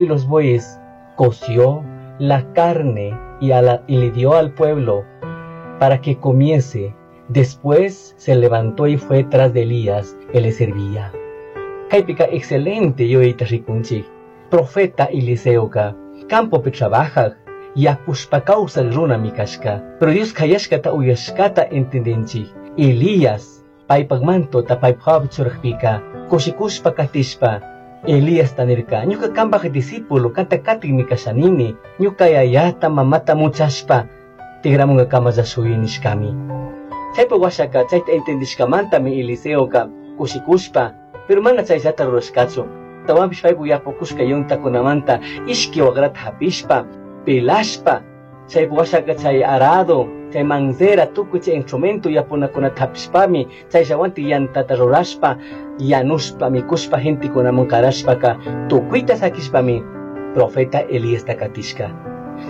Y los bueyes, coció la carne y le dio al pueblo para que comiese. Después se levantó y fue tras de Elías, que le servía. Kaypika excelente yuyayta rikunchik. Profeta Eliseoka campopi trabajaj, yapushpa kawsaj runami kashka. Pero Dios kayashkata uyashkata entendinchik. Elías paypak mantota paypak hawapi churajpika kushikushpa katishpa Elías nirka, ñuka kambaj discípulo kanta katikmi kashanini, ñuka yayata mamata muchashpa tigramungakamalla shuyi nishkami. Chaypak washaka chayta entendishkamantami Eliseoka kushikushpa, pero mana chayllata rurashkachu. Tawanpish paypak yapukushka yuntakunamanta ishki wakrata hapishpa, pelashpa, chaypak washaka chay arado, chay manzera, tukuy chay instrumento yapunakunata hapishpami, chayllawanti yantata rurashpa, yanushpa, mikushpa, gentekunaman karashpaka, tukuyta sakishpami profeta Elíasta katishka.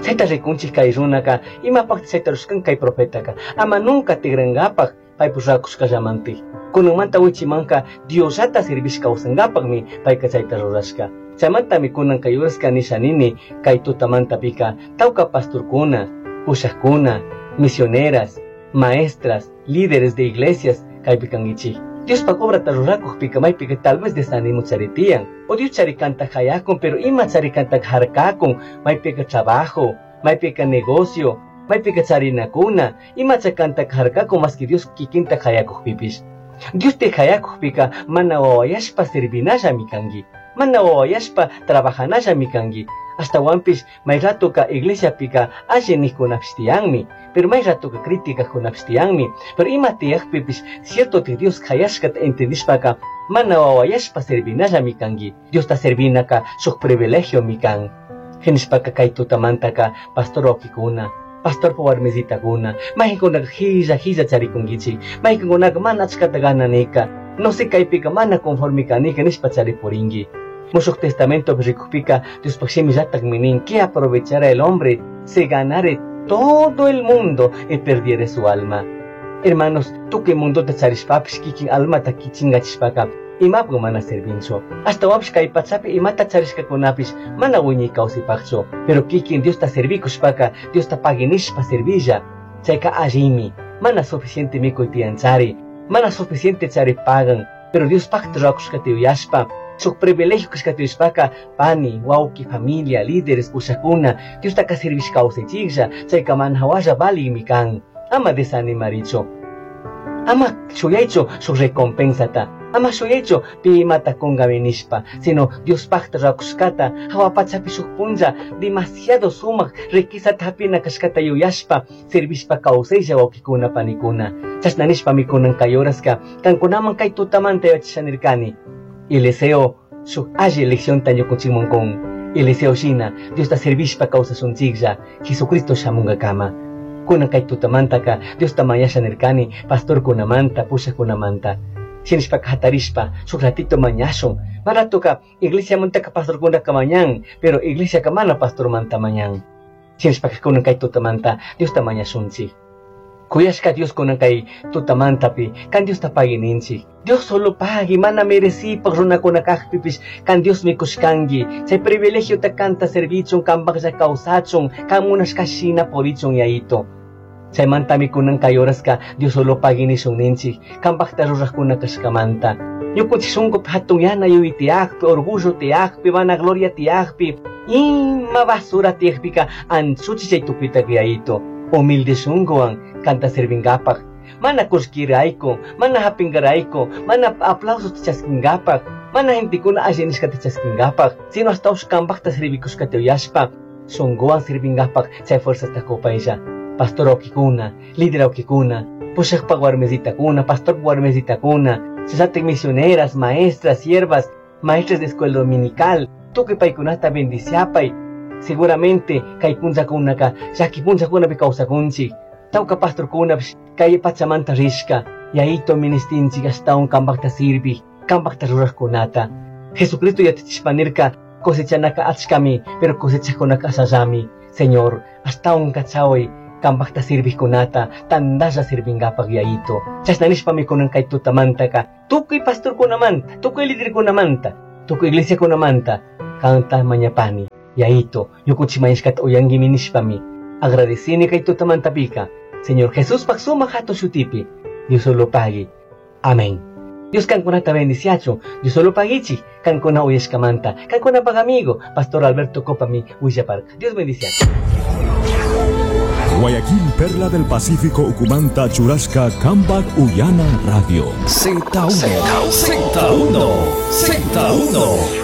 Chayta rikunchik kay runaka, imapaqta chayta rurashkan kay profetaka, ama nunca tigrankapak paypuk rurakushkallamantik. Kunanmanta wichimanka Diosllata servishka kawsankapakmi payka chayta rurashka. Chaymantami kunan kay uraska nisha nini kay tutamantapika tawka pastorkuna, pushakuna, misioneras, maestras, líderes de iglesias kaypi kankichik. Diospak obrata rurakukpika maypika tal vez desanimo charitiyan, o Dios charikanta hayakun, pero ima charikanta harkakun, maypika trabajo, maypika negocio, maypika charinakuna, ima chakanta harkakun más que Dios kikinta hayakukpipish. Dios te hayakukpika mana wawayashpa servinallami kanki, mana wawayashpa trabajanallami kanki. Ashtawanpish may ratoka iglesiapika alli nijkunapish tiyanmi, pero may ratoka críticakunapish tiyanmi, pero ima tiyakpipish cierto te Dios hayashkata entendishpaka mana wawayashpa servinallami kanki. Diosta servinaka shuk privilegiomi kan. Hinishpaka kay tutamantaka pastor wawkikuna, pastorpa warmisitakuna, mayqinkunaka hilla hilla charikunkichik, mayqinkunaka mana achkata gananika, no sé kaypika mana conforme kanika nishpa charipurinki. Mushuq Testamento rikukpika Diospaq shimillatakmi nin, ¿qué aprovechará el hombre si ganare todo el mundo y perdiere su alma? Hermanos, tukuy mundota charishpapish kikin almata kichingachishpaka imapaq mana servinchu. Ashtawanpish kay pachapi imata charishkakunapish mana wiñay kawsaypaqchu, pero kikin Diosta servikushpaka Diosta paginishpa servilla, chayka allimi, mana suficiente mikuy tiyanchari, mana suficiente chari pagan, pero Diospaqta rurakushkata yuyashpa, shuk privilegio kashkata yuyashpaka, pani, wawki, familia, líderes, pushakuna, Diostaka servish kawsaychiklla, chayka mana hawalla valimi kan. Ama desanimarichu. Ama shuyaychu shuk recompensata. Ama shuyaychu pi imata kunkami nishpa, sino Diospaqta rurakushkata, hawa pachapi shuk punlla, demasiado sumak riquezata hapina kashkata yuyashpa, servishpa kawsaylla wawkikuna panikuna. Chashna nishpami kunan kay horaska, kankunaman kay tutamanta yachashanirkani. Eliseo shuk alli leccionta ñukunchikman kun. Eliseo shina Diosta servishpa kawsashunchiklla, Jesucristo shamunkakama. Kunan kay tutamantaka Diosta mañasha nirkani, pastorkunamanta, pushakunamanta. Shinishpaka hatarishpa, shuk ratito mañashun. Maratoka iglesiamantaka pastorkunaka mañan, pero iglesiaka mana pastormanta mañan. Shinishpaka kunan kay tutamanta Diosta mañashunchik. Kuyashka Dios kunan kay tutamantapi, kan Diosta pagininchik. Dios solo pagui, mana merecipaq runakuna kaqpipish, kan Dios mikushkanki. Chay privilegiota kanta servichun, kanpaqlla kawsachun, kan munashka shina purichun yayito. Chaymantami kunan kay horaska Dios solo pagui nishun ninchik, kanpaqta ruraqkuna kashkamanta. Ñukunchik shunkupi hatun yana yuyay tiyaqpi, orgullo tiyaqpi, vanagloria tiyaqpi, ima basura tiyaqpika anchuchi chay tukuyta yayito. Humilde shunkuwan kanta servinkapak, mana kullkirayku, mana hapinkarayku, mana aplausos chaskinkapak, mana gentekuna alli nishkata chaskinkapak, sino hasta kanpaqta servikushkata yuyashpa, shunkuwan servinkapak chay fuerzasta kupaylla. Pastor wawkikuna, líder wawkikuna, pushaqpaq warmisitakuna, pastorpaq warmisitakuna, challatik misioneras, maestras, siervas, maestras de escuela dominical, tukuy paykunata bendiciapay. Seguramente kay punllakunaka llaki punllakunapi kawsakunchik, tawka pastorkunapish kay pachamanta rishka, yayito ministinchik ashtawan kanpaqta sirvik, kanpaqta ruraqkunata. Jesucristo yachachishpa nirka, cosechanaka achkami, pero cosechaqkunaka ashallami. Señor, ashtawan kachaway kanpaqta sirvikkunata, tantalla sirvinkapak yayito. Chashna nishpami kunan kay tutamantaka, tukuy pastorkunamanta, tukuy liderkunamanta, Tukuy iglesiakunamanta kanta mañapani. Yaito, ñukuchi mañashkata uyanguimi nishpami. Agradecini kay tutamantapika. Señor Jesús pak sumak hatun shutipi. Dios solo pagui. Amén. Dios kankunata bendiciachun. Dios solo paguichi. Kankuna uyashkamanta. Kankuna pag amigo. Pastor Alberto Copami willaparka. Dios bendiciachun. Guayaquil, Perla del Pacífico, Ucumanta, Churasca, Cambac, Uyana, Radio. Z1, Z1, Z1.